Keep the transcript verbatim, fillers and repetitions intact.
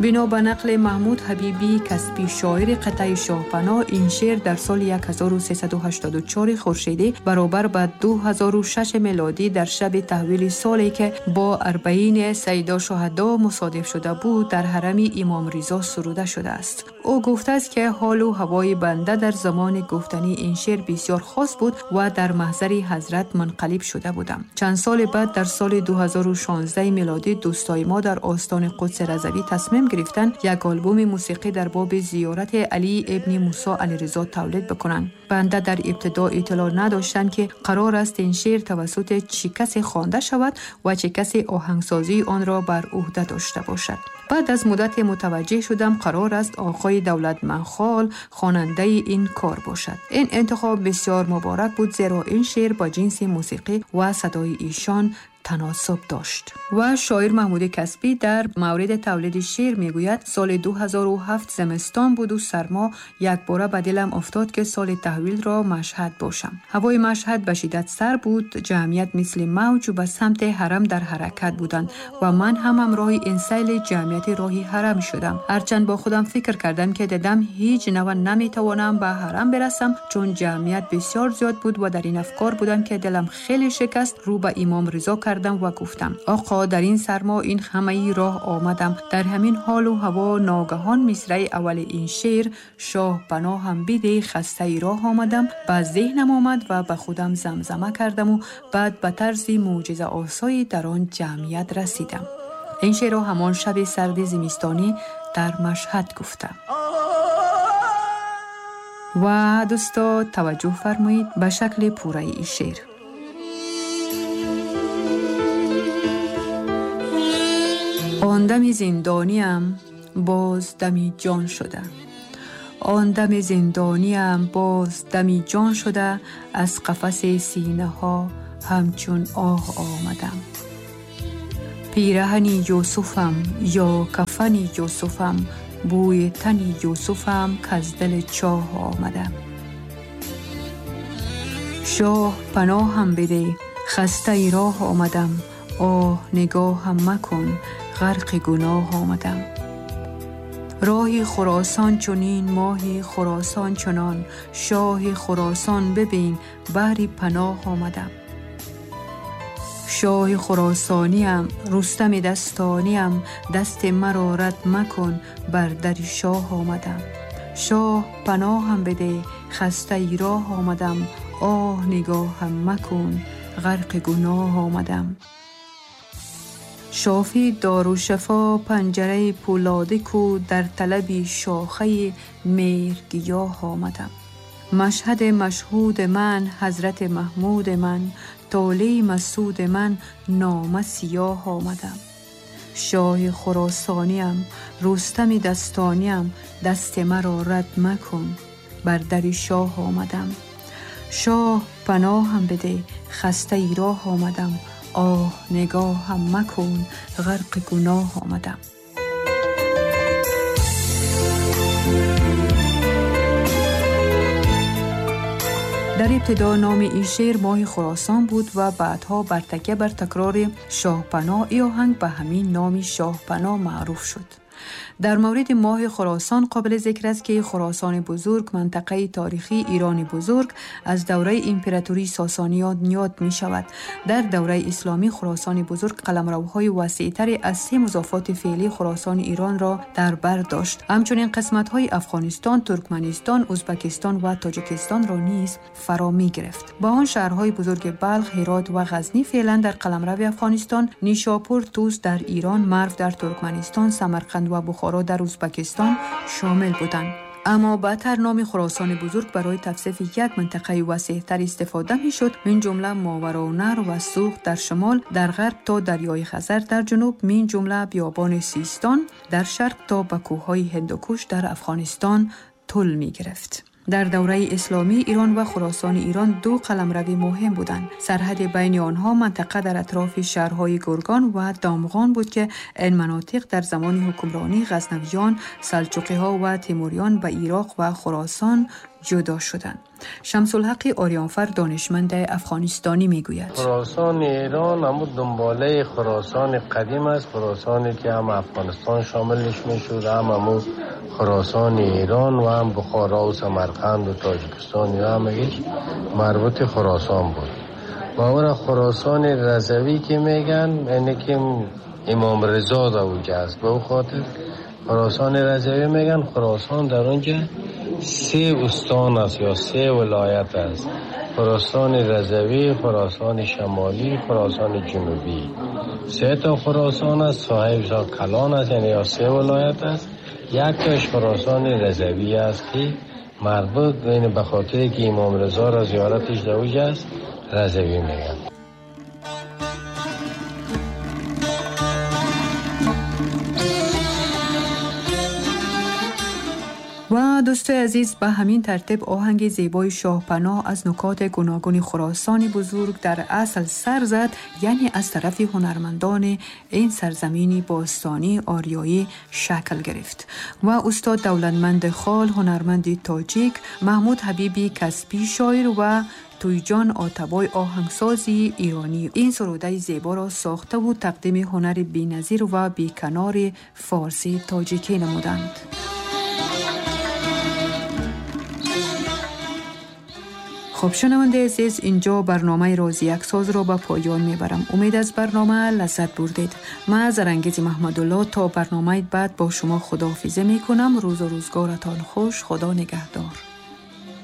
бино ба нақли Маҳмуд Ҳабибӣ Касбӣ, шоири қитъаи Шоҳпаноҳ, ин шеър дар соли ҳазору сесаду ҳаштоду чор хуршедӣ баробар ба ду ҳазору шаш мелодӣ дар шаби таҳвили соле ки бо арбаини Сайидо Шуҳадо мусодиф шуда буд, дар ҳарами Имом Ризо суруда шудааст. Ӯ гуфтааст ки ҳолу ҳавои банда дар замони гуфтани ин шеър бисёр хос буд ва дар маҳзари ҳазрат мунқалиб шуда будам. Чанд соли баъд дар соли ду ҳазору шонздаҳ мелодӣ дӯстои мо дар остони Қудси Разавӣ тасмим гирифтанд як албоми мусиқӣ дар боби зиёрати Алӣ ибни Мусо Алиризо тавлид бикунанд. Банда дар ибтидо иттилоъ надоштам ки қарор аст ин шеър тавассути чӣ касе хонда шавад ва чӣ касе оҳангсозии онро бар ӯҳда дошта бошад. Баъд аз муддате мутаваҷҷеҳ шудам қарор аст оқои Давлатманхол хонандаи ин кор бошад. Ин интихоб бисёр муборак буд, зеро ин шеър бо ҷинси мусиқӣ ва садои эшон таносуб дошт. Ва шоир Маҳмуди Касбӣ дар мавриди тавлиди шеър мегӯяд: соли ду ҳазору ҳафт зимистон буду сармо, якбора ба дилам афтод ки соли таҳвилро Машҳад бошам. Ҳавои Машҳад ба шиддат сар буд, ҷамъият мисли мавҷ ба самти ҳарам дар ҳаракат буданд ва ман ҳам ҳамроҳи ин сайли ҷамъияти роҳи ҳарам шудам. Ҳарчанд бо худам фикр кардам ки дидам ҳеҷ нава наметавонам ба ҳарам бирасам, чун ҷамъият бисёр зиёд буд ва дар ин афкор будам ки дилам хеле шикаст. Рӯ ба Имом Ризо кардам ва гуфтам: оқо, дар ин сармо ин ҳамаи роҳ омадам. Дар ҳамин ҳолу ҳаво ногаҳон мисраи аввали ин шеър шоҳ паноҳам бидеҳ хастаи роҳ омадам ба зеҳнам омад ва ба худам замзама кардам ва баъд ба тарзи мӯъҷизаосое дар он ҷамъият расидам. Ин шеърро ҳамон шаби сарди зимистонӣ дар Машҳад гуфтам. Ва дӯсто, таваҷҷӯҳ фармоед ба шакли пурраи ин шеър. Он дами зиндониам боз дами ҷон шуда, он дами зиндониам боз дами ҷон шуда, аз қафаси синаҳо ҳамчун оҳ омадам. Пираҳани Юсуфам ё кафани Юсуфам, бӯи тани Юсуфам каз дили чоҳ омадам. Шоҳ паноҳам бидеҳ хастаи роҳ омадам, оҳ нигоҳам макун ғарқи гуноҳ омадам. Роҳи Хуросон чунин, моҳи Хуросон чунон, шоҳи Хуросон бибин баҳри паноҳ омадам. Шоҳи Хуросониам, Рустами дастониам, дасти маро рад макун бар дари шоҳ омадам. Шоҳ паноҳам бидеҳ хастаи роҳ омадам, оҳ нигоҳам макун ғарқи гуноҳ омадам. Шофи дорушафо панҷараи пӯлодӣ ку, дар талаби шохаи меҳргиёҳ омадам. Машҳади машҳуди ман ҳазрати Маҳмуди ман, толеи масуди ман нома сиёҳ омадам. Шоҳи Хуросониам, Рустами дастониам, дасти маро рад макун бар дари шоҳ омадам. Шоҳ паноҳам бидеҳ хастаи роҳ омадам, оҳ нигоҳам макун ғарқи гуноҳ омадам. Дар ибтидо номи ин шеър моҳи Хуросон буд ва баъдҳо бар такя бар такрори Шоҳпаноҳ ин оҳанг ба ҳамин номи Шоҳпаноҳ маъруф шуд. Дар мавриди моҳи Хуросон қобили зикр аст ки Хуросони бузург минтақаи таърихии Ирони бузург аз давраи императории Сосониён ёд мешавад. Дар давраи исломӣ Хуросони бузург қаламравҳои васеътаре аз се музофоти феълии Хуросони Иронро дар бар дошт. Ҳамчунин қисматҳои Афғонистон, Туркманистон, Ӯзбекистон ва Тоҷикистонро низ фаро мегирифт. Ба он шаҳрҳои бузурги Балх, Ҳирот ва Ғазнӣ феълан дар қаламрави Афғонистон, Нишопур, Тӯс дар Ирон, Марв дар Туркманистон, Самарқанд ва Бухоро дар Ӯзбекистон шомил буданд. Аммо баъдтар номи Хуросони бузург барои тавсифи як минтақаи васеътар истифода мешуд, мин ҷумла Мовароуннаҳр ва Суғд дар шимол, дар ғарб то дарёи Хазар дар ҷануб, мин ҷумла биёбони Систон дар шарқ то ба кӯҳҳои Ҳиндукуш дар Афғонистон тул мегирифт. Дар давраи исломӣ Эрон ва Хуросони Эрон ду қаламрави муҳим буданд. Сарҳади байни онҳо минтақа дар атрофи шаҳрҳои Гургон ва Домғон буд ки ин манотиқ дар замони ҳукмронии ғазнавиён, салҷуқиҳо ва тимуриён ба Ироқ ва Хуросон ҷудо шуданд. Шамсулҳақ ориёнфар донишманд афғонистонӣ мегӯяд: Хуросон Эрон ҳамон дунболаи Хуросони қадим аст, Хуросоне ки ҳам Афғонистон шомилش мешуд, ҳам ҳамон Хуросони Эрон ва ҳам Бухоро ва Самарқанд ва Тоҷикистон ва ҳамагиш марбут Хуросон буд. Ва он Хуросони Рضوی که میگن یعنی که امام رضا در اونجا است، به او خاطر خراسان رضوی میگن. خراسان در اونجا سه استان است یا سه ولایت است: خراسان رضوی، خراسان شمالی، خراسان جنوبی. سه تا خراسان است، صاحب کلان است، یعنی یا سه ولایت است. یک تاش خراسان رضوی است که مربوط یعنی به خاطر که امام رضا را زیارتش در اونجا است رضوی میگن. و دوستای عزیز، به همین ترتیب آهنگ زیبای شاهپناه از نکات گوناگون خراسان بزرگ در اصل سر زد، یعنی از طرف هنرمندان این سرزمین باستانی آریایی شکل گرفت و استاد دولتمند خال هنرمند تاجیک، محمود حبیبی کسبی شاعر و تویجان آتبای آهنگسازی ایرانی این سروده زیبا را ساخته و تقدیم هنر بی‌نظیر و بی‌کنار فارسی تاجیکی نمودند. خب شنونده عزیز، اینجا برنامه راز یک ساز را به پایان میبرم. امید از برنامه لذت بردید. من زرنگیز محمدالله تا برنامه بعد با شما خداحافظی میکنم. روز و روزگارتان خوش. خدا نگهدار.